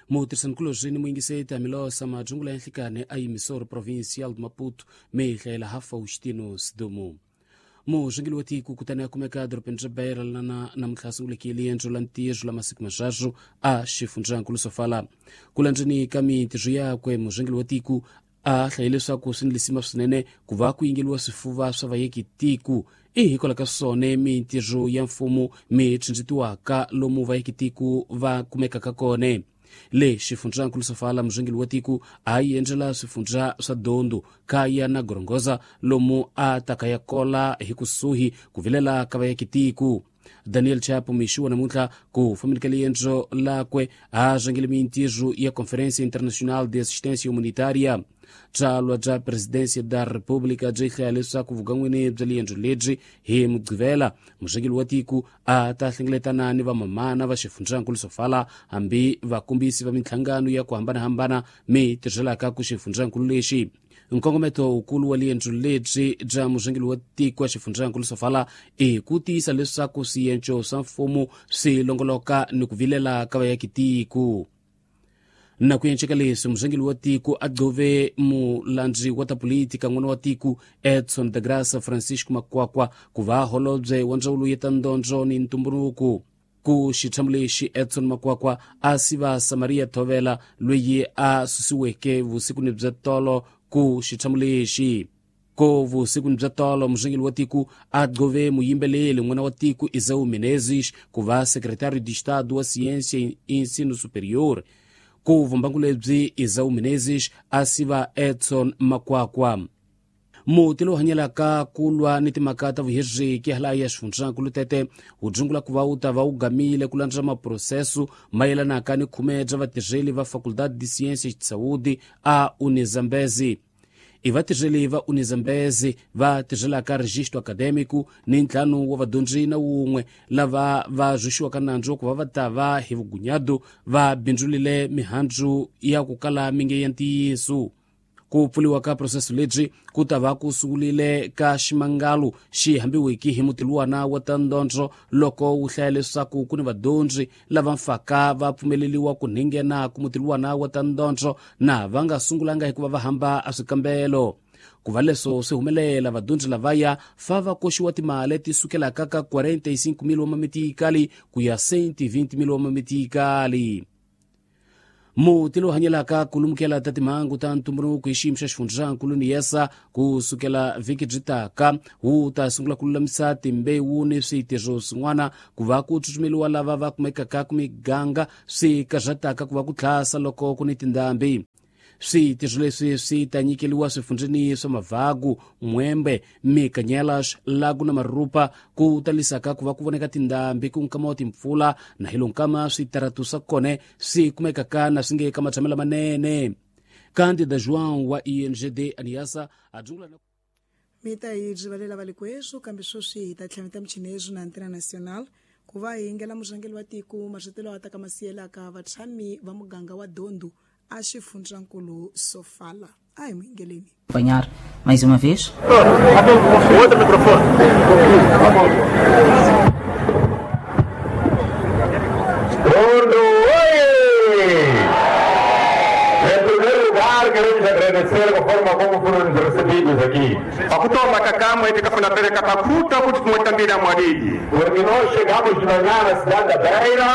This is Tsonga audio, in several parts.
Mutirhisanikulobye ni muyingiseti Milosa Majungula ya Nhlikani a Emissora Provincial de Maputo mi hlayela ha Faustino Sidumo. Murhangeri wa tiko kutani a kumeka edorobeni ra Beira lana namuntlha a sunguleke riendzo la ntirho la masiku manharhu a xifundzankulu Sofala. Ku landzeni ka mintirho yakwe, murhangeri wa tiko a hlaye leswaku swi ni lisima swinene ku va ku yingeliwa swifuva swa vayeki tiko i hikwalaho ka swona mintirho ya mfumo mi tsindzitiwaka lomu vayeki tiko va kumekaka kona. Le xifundzankulu Sofala, murhangeri wa tiko a yi endzela swifundza swa Dondo, Kaya na Gorongosa lomu a taka ya kola hi kusuhi ku vilela ka vayaki tiko. Daniel Chapo mixi wa namuntlha ku fambeni ka riendzo lakwe a rhangele mintirho ya Conferência Internacional de Assistência Humanitária. Tsalwa bya Presidência da República byi hlaya leswaku vugan'wini bya riendzo lebyi hi Mugqivela, murhangeri wa tiko a ta hlengeletana ni vamamana va xifundzankulu Sofala hambi vakombisi va minhlangano ya ku hambanahambana mi tirhelaka ku xifundzankulu lexi. Nkongometo wukulu wa riendzo lebyi bya murhangeri wa tiko wa xifundzankulu Sofala i ku tiyisa leswaku swienco swa mfumo swi longoloka ni ku vilela ka vayaki tiko. Na ku enceka leswi, murhangeri wa tiko a gqove mulandzi wa ta politika n'wana wa tiko Edson da Graça Francisco Makwakwa ku va holobye wa ndzawulo ya ta ndondzo ni ntumbuluko. Ku xitshamo lexi Edson Makwakwa a siva Samaria Thovela loyi a susiweke vusikwini bya tolo ku xitshamo lexi. Ko vusikwini bya tolo, murhangeri wa tiko a gqove muyimbeleli n'wana wa tiko Isau Menezes ku va secretário de Estado wa Ciência e Ensino Superior. Ku vumbangu lebyi Isau Menezes a siva Edson Makwakwa. Muti lowu hanyelaka ku lwa ni timhaka ta vuhiriki hala ya xifundzankulu Tete wu dzungula ku va wu ta va wu gamile ku landza maproseso mayelanaka ni khume bya vatirheli va Faculdade de Ciências de Saúde a Unizambezi. I vatirheli va Unizambezi va tirhelaka registro acadêmico ni ntlhanu wa vadyondzi na wun'we lava va rhwexiwaka nandzu wa ku va va ta va hi vugunyado va bindzulile mihandzu ya ku kala minge ya ntiyiso. Ku pfuriwa ka proseso lebyi ku ta va ku sungulile ka ximangalo xi hambiwiki hi mutiluwana wa ta ndondzo loko wu hlaya leswaku ku ni vadyondzi lava mfaka va pfumeleliwa ku nghena ku mutiluwana wa ta ndondzo na va nga sungulanga hikuva va hamba a swikambelo. Ku va leswo swi humelela, vadyondzi lavaya fa va koxiwa timali ti sukelaka ka 45,000 wa mamitikali ku ya 120,000 wa mamitikali. Muti lowu hanyelaka ku lumukela ta timhangu ta ntumbuluko hi xiyimo xa xifundzankulu ni yesa ku sukela vhiki byi taka wu ta sungula ku lulamisa timbewu ni switirho swin'wana ku va ku tsutsumeliwa lava va kumekaka ku miganga swi karhataka ku va ku tlhasa loko ku ni tindhambi. Switirho leswi swi ta nyikeliwa swifundzeni swa Mavagu, Mwembe, Mikanyelas, Lago na Marupa ku talisaka ku va ku voneka tindhambi ku nkama wa timpfula na hi lonkama switaratu swa kona swi kumekaka na swi nge ka matshamelo lamanene. Candida João wa INGD Aniasa a dzungula na mi ta hi rivalela valikweswo kambe sweswi hi ta tlhaveta michinezo na Antena Nacional ku va hi yingela murhangeri wa tiko marito lawa ta ka masiyelaka vatshami va muganga wa Dondo a xifundzankulu Sofala. A hi muyingeleni. Acompanhar mais uma vez. Outro microfone. Dondo, oi! Em primeiro lugar, queremos agradecer a forma como foram recebidos aqui. Pakutoma kakamwe tikafuna pereka pakuta kuti tumwetambira mwadidi. Porque nós chegamos de manhã na cidade da Beira.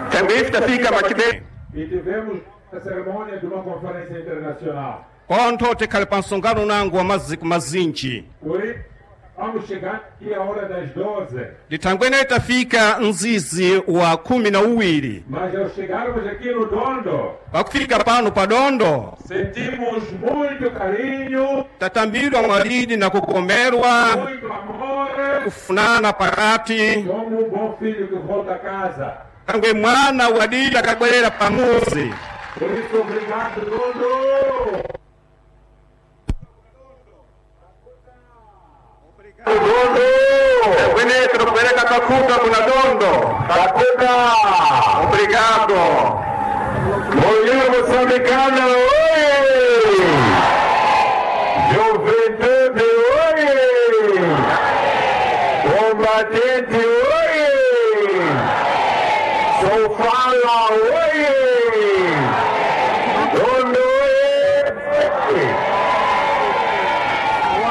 Também tafika machibe. E tivemos a cerimônia de uma conferência internacional. Konto tikhali pa msonkhano nangu wa maziku mazinji. Oi, vamos chegar aqui a hora das 12. Ndithangwene tafika mzizi wa 12. Mas ao chegarmos aqui no Dondo, pakufika pano pa Dondo, sentimos muito carinho, tatambidwa mwadidi na kukomerwa, muito amor, kufunana pakati, como um bom filho que volta a casa. Kangwe mwana wadidi akabwerera pamuzi. Por isso, obrigado, Dondo! Dondo! Kwenetu kupereka kakuta kuna Dondo. Kakuta! Obrigado! Mulher moçambicana, oi! Juventude, oi! Combatente, oi! Sofala, oi!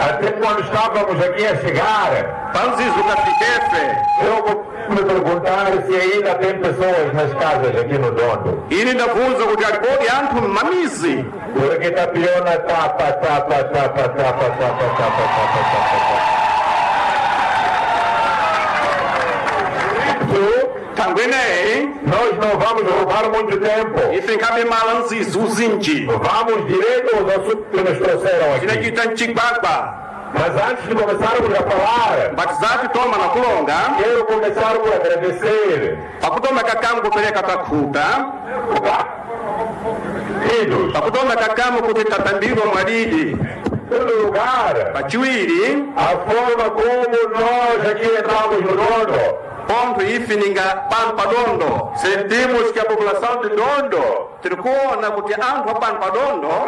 Até quando estávamos aqui a chegar, eu vou me perguntar se ainda tem pessoas nas casas aqui no Dondo. Porque tapiona tapa, tapa, tapa, tapa, tapa, tapa, tapa, tapa, tapa. Nós não vamos roubar muito tempo. Vamos direto aos assuntos que nos trouxeram aqui. Mas antes de começarmos a falar, quero começar por agradecer em primeiro lugar, a forma como nós aqui entramos no Dondo. Sentimos que a população de Dondo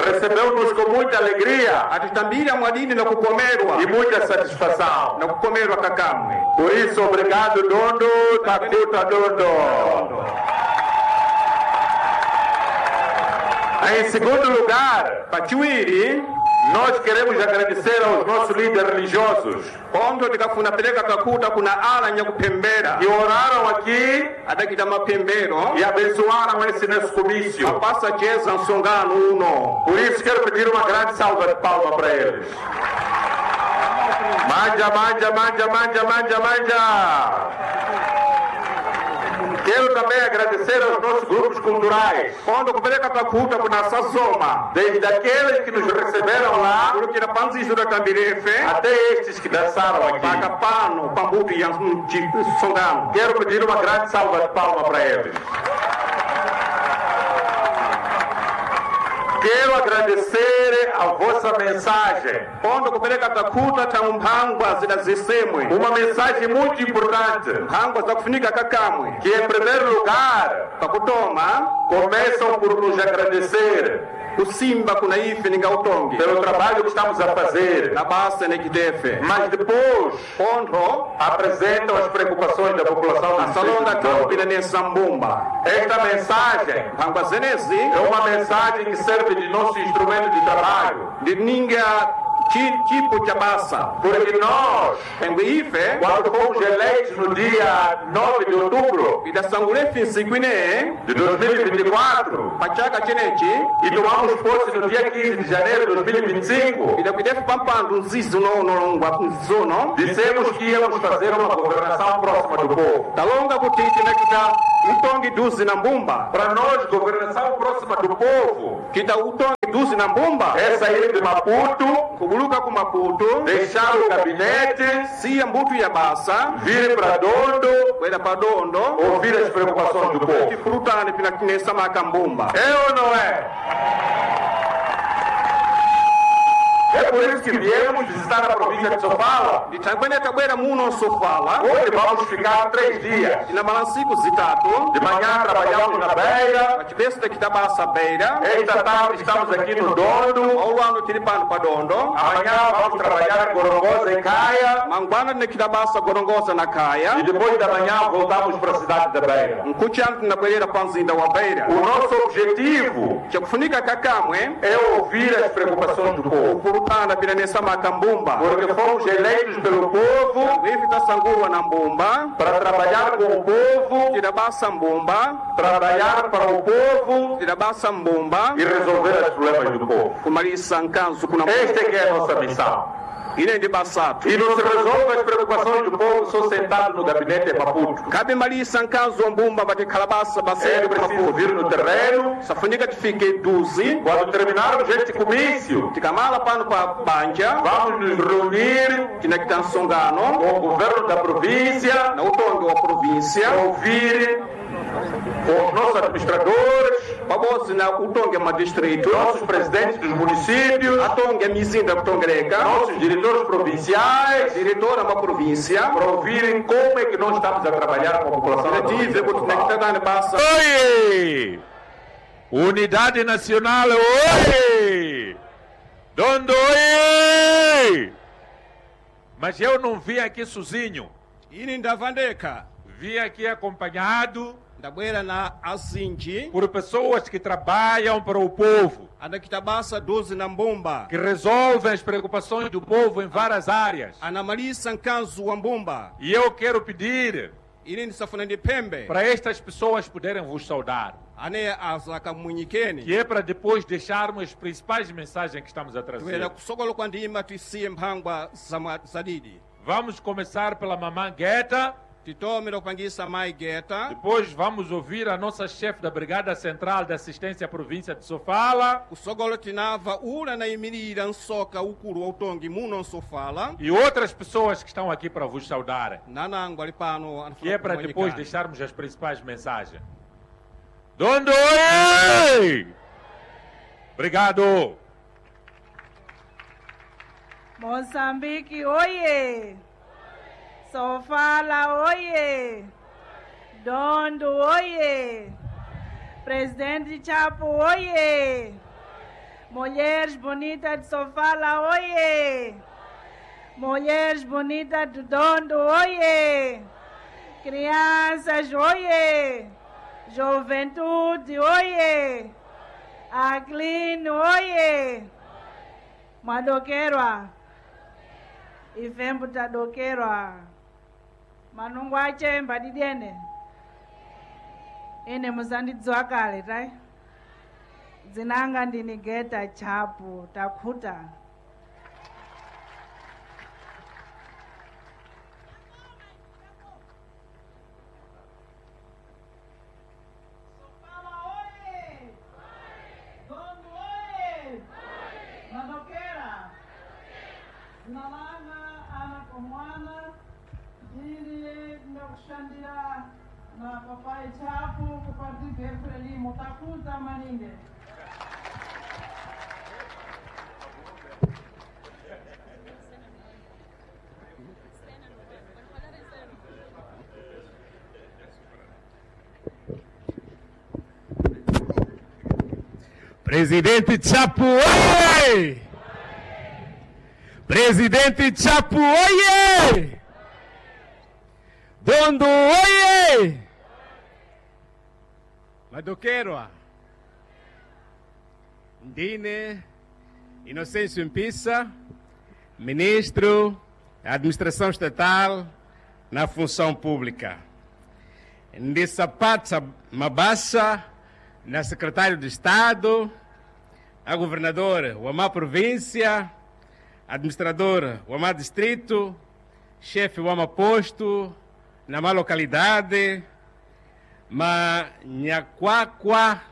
recebeu-nos com muita alegria e muita satisfação. Por isso, obrigado, Dondo. Takuta Dondo. Em segundo lugar, nós queremos agradecer aos nossos líderes religiosos que oraram aqui e abençoaram esse nosso comício. Por isso quero pedir uma grande salva de palmas para eles. Manja, manja, manja, manja, manja, manja. Quero também agradecer aos nossos grupos culturais, desde aqueles que nos receberam lá, até estes que dançaram aqui. Quero pedir uma grande salva de palmas para eles. Quero agradecer a vossa mensagem. Uma mensagem muito importante, que em primeiro lugar começam por nos agradecer pelo trabalho que estamos a fazer, mas depois apresentam as preocupações da população do distrito. Esta mensagem é uma mensagem que serve de nosso instrumento de trabalho. Porque nós, quando fomos eleitos no dia 9 de outubro de 2024 e tomamos posse no dia 15 de janeiro de 2025, dissemos que íamos fazer uma governação próxima do povo. Para nós, governação próxima do povo é sair de Maputo, deixar o gabinete, vir para Dondo, ouvir as preocupações do povo. É ou não é? É por isso que viemos visitar a província de Sofala. Hoje vamos ficar 3 dias. De manhã trabalhamos na Beira. Esta tarde estamos aqui no Dondo. Amanhã vamos trabalhar em Gorongosa e Caia. E depois da manhã voltamos para a cidade da Beira. O nosso objetivo é ouvir as preocupações do povo. Porque fomos eleitos pelo povo para trabalhar com o povo, trabalhar para o povo e resolver os problemas do povo. Esta é que é a nossa missão. E não se resolve as preocupações do povo só sentado no gabinete de Maputo. É preciso vir no terreno. Quando terminarmos este comício, vamos nos reunir com o governo da província, ouvir com os nossos administradores, nossos presidentes dos municípios, nossos diretores provinciais, para ouvirem como é que nós estamos a trabalhar com a população. Oi! Unidade Nacional, oi! Dondo, oi! Mas eu não vim aqui sozinho. Vim aqui acompanhado Ndabwera na azinji por pessoas que trabalham para o povo, anakitabasa 12 na mbumba que resolvem as preocupações do povo em várias áreas. Anamalisa nkanzu wa mbumba. E eu quero pedir Ine ndisafuna ndipembe para estas pessoas poderem vos saudar, ane azakamunyikeni que é para depois deixarmos as principais mensagens que estamos a trazer. Tuyera kusokolo kwa ndima tisiye mphangwa zadidi. Vamos começar pela mamã Guetta. Titomera kupangisa mai Guetta. Depois vamos ouvir a nossa chefe da Brigada Central de Assistência à Província de Sofala. Kusokolo tinava ula na imirira nsoka ukulu wa utongi muno Sofala. E outras pessoas que estão aqui para vos saudar. Nanango ali pano. Que é para depois deixarmos as principais mensagens. Dondo, oi! Obrigado! Moçambique, oiê! Sofala, oiê! Dondo, oiê! Presidente Chapo, oiê! Mulheres bonitas de Sofala, oiê! Mulheres bonitas do Dondo, oiê! Crianças, oiê! Juventude, oiê! Aclino, oiê! Mwadokerwa, ifembu tadokerwa, manungu achemba didiene, ine musandidziwa kale tai, dzinanga ndini Guetta Chapo takhuta. Nalanga ana komwana ndiri ndakushandira na papai Chapo kupartido Frelimo takuta maninge. Presidente Chapo, oi! Presidente Chapo, oiê! Dondo, oiê! Madoqueiro, Ndine, Inocêncio Impissa, Ministro da Administração Estatal na Função Pública. Ndissapatsa Mabassa, na Secretário de Estado, a Governador Wamá Província, administrador Wamá Distrito, chefe Wama Posto, na má localidade, ma Nhaquaquá,